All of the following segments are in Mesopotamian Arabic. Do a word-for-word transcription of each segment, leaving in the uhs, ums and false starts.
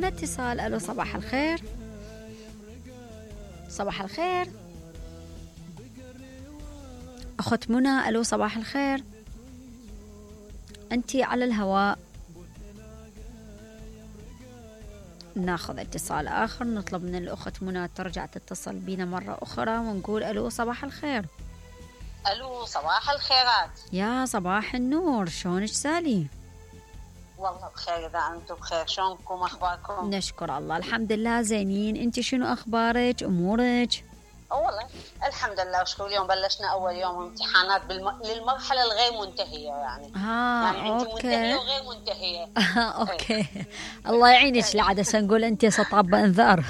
معنا اتصال. الو صباح الخير. صباح الخير اخت منى. الو صباح الخير، انتي على الهواء. ناخذ اتصال اخر، نطلب من الاخت منى ترجع تتصل بينا مرة اخرى ونقول الو صباح الخير. الو صباح الخيرات. يا صباح النور، شلونك سالي؟ والله بخير اذا انتم بخير، شلونكم اخباركم؟ نشكر الله الحمد لله زينين. انتي شنو اخبارك امورك؟ والله الحمد لله وشكرا. اليوم بلشنا اول يوم امتحانات بالم... للمرحله الغير منتهيه يعني. ها يعني انت منتهيه وغير منتهيه. اوكي الله يعينك لعدسه نقول انت سطاب انذار.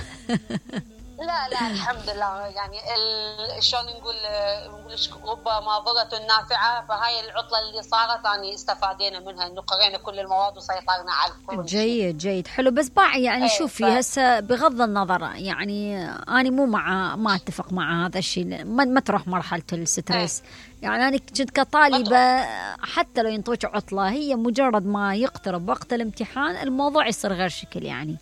لا لا الحمد لله يعني ال... شلون نقول نقول رب ماضرة نافعه، فهاي العطله اللي صارت اني استفادينا منها انه قرينا كل المواد وسيطرنا على كل شيء. جيد جيد حلو. بس باعي يعني شوفي ف... هسه بغض النظر يعني انا مو مع ما اتفق مع هذا الشيء، ما, ما تروح مرحله الستريس. يعني انا كنت كطالبه حتى لو ينطوك عطله، هي مجرد ما يقترب وقت الامتحان الموضوع يصير غير شكل يعني.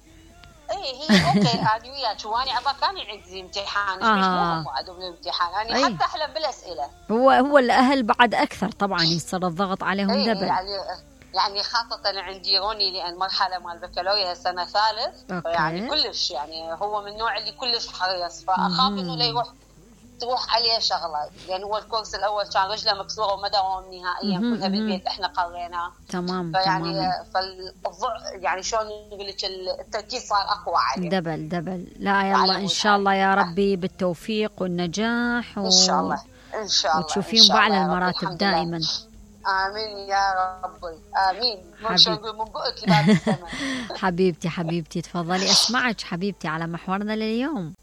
اي هي اوكي انا وياك، واني عبا كان عندي امتحان آه. مش مو عندهم الامتحان يعني حتى احلم بالاسئله. هو هو الاهل بعد اكثر طبعا يصير الضغط عليهم دبل يعني يعني خاصه عندي روني لان مرحله مال البكالوريا سنه ثالث، يعني كلش يعني هو من النوع اللي كلش حريص، فاخاف انه لا يروح تروح عليه شغله، لان هو الكورس الاول كان رجله مكسوره وما داوم نهائيا كلها بالبيت احنا قريناه. تمام فيعني تمام. فالضع يعني شلون نقول لك التركيز صار اقوى عليه. دبل دبل. لا يلا ان شاء الله يا ربي بالتوفيق والنجاح و... ان شاء الله ان شاء الله وتشوفين باعلى المراتب دائما. امين يا ربي امين. حبيب. من بقك لباب السماء. حبيبتي حبيبتي تفضلي اسمعك حبيبتي على محورنا لليوم.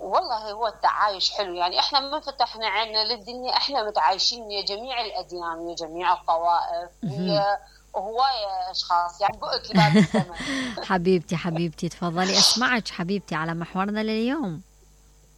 والله هو التعايش حلو، يعني احنا ما فتحنا عيننا للدنيا، احنا متعايشين ويا جميع الاديان ويا جميع الطوائف ويا هواية اشخاص، يعني بقك لباب السماء. حبيبتي حبيبتي تفضلي اسمعك حبيبتي على محورنا لليوم.